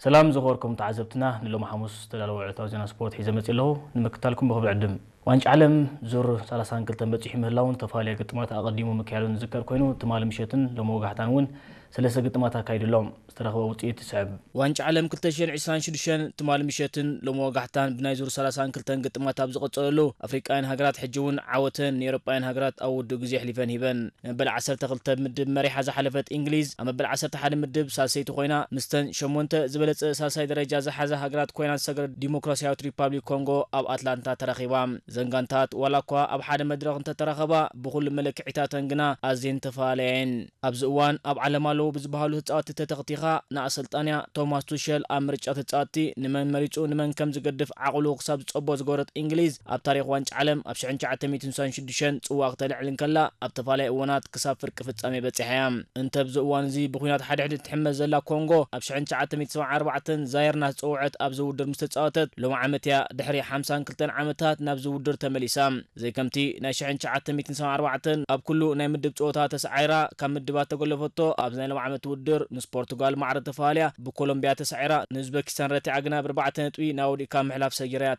ሰላም ዝኸበርኩም ተዓዘብትና፣ ንሎሚ ሓሙስ ዝተዳለወ ዕለታዊ ዜና ስፖርት ሒዘ መጺእ ኣለኹ። ንምክታልኩም ብኽብሪ ዕድም። ዋንጫ ዓለም ዙር ሰላሳን ክልተን በጺሑ ምህላውን ተፈላለየ ግጥማት ኣቐዲሙ ምክያዱን ዝዝከር ኮይኑ፣ ትማሊ ምሸትን ሎሚ ወጋሕታን እውን ሰለስተ ግጥማት ኣካይዱ ኣሎ። ዝተረኽበ ውጽኢት ይስዕብ። ዋንጫ ዓለም ክልተ ሽሕን ዕስራን ሽዱሽተን ትማሊ ምሸትን ሎሚ ወጋሕታን ብናይ ዙር ሰላሳን ክልተን ግጥማት ኣብ ዝቐጸለሉ፣ ኣፍሪቃውያን ሃገራት ሕጂ እውን ዓወተን ንኤውሮጳውያን ሃገራት ኣብ ውዱእ ግዜ ኣሕሊፈን ሂበን። መበል ዓሰርተ ክልተ ምድብ መሪሓ ዝሓለፈት እንግሊዝ ኣብ መበል ዓሰርተ ሓደ ምድብ ሳልሰይቲ ኮይና፣ ምስተን ሸሞንተ ዝበለጸ ሳልሳይ ደረጃ ዝሓዛ ሃገራት ኮይና ዝሰገረ ዲሞክራሲያዊት ሪፓብሊክ ኮንጎ ኣብ ኣትላንታ ተራኺባ። ዘን ጋንታት ዋላ እኳ ኣብ ሓደ መድረኽ እንተተራኸባ፣ ብኹሉ መለክዒታተን ግና ኣዝየን ተፈላለያ እየን። ኣብዚ እዋን ኣብ ዓለም ኣለዉ ብዝበሃሉ ተጻወትቲ ተተኽቲኻ ንኣሰልጣንያ ቶማስ ቱሸል ኣብ ምርጫ ተጻወትቲ ንመን መሪጹ ንመን ከም ዝገድፍ ዓቕሉ ክሳብ ዝጸቦ ዝገበረት እንግሊዝ፣ ኣብ ታሪኽ ዋንጫ ዓለም ኣብ ሽሕን ትሽዓተ ሚእትን ስሳን ሽዱሽተን ጽዋእ ክተልዕል እንከላ፣ ኣብ ተፈላለየ እዋናት ክሳብ ፍርቂ ፍጻሜ በጺሓ እያ። እንተ ኣብዚ እዋን እዚ ብኲናት ሓድሕድ እትሕመስ ዘላ ኮንጎ፣ ኣብ ሽሕን ትሽዓተ ሚእትን ሰብዓን ኣርባዕተን ዛየር እናተጸውዐት ኣብዚ ውድድር ምስ ተጻወተት፣ ሎም ዓመት እያ ድሕሪ ሓምሳን ክልተን ዓመታት ናብዚ ውድድር ተመሊሳ። ዘይከምቲ ናይ ሽሕን ትሽዓተ ሚእትን ሰብዓን ኣርባዕተን ኣብ ኩሉ ናይ ምድብ ጸወታ ተሰዓይራ ካብ ምድባት ተገለፈቶ፣ ኣብዚ ናይ ሎም ዓመት ውድድር ምስ ፖርቱጋል ማዕረ ተፈላለያ ብኮሎምቢያ ተሳዒራ ንኡዝበኪስታን ረቲዓ ግና ብኣርባዕተ ነጥቢ ናብ ወዲእካ ምሕላፍ ሰጊራ እያ።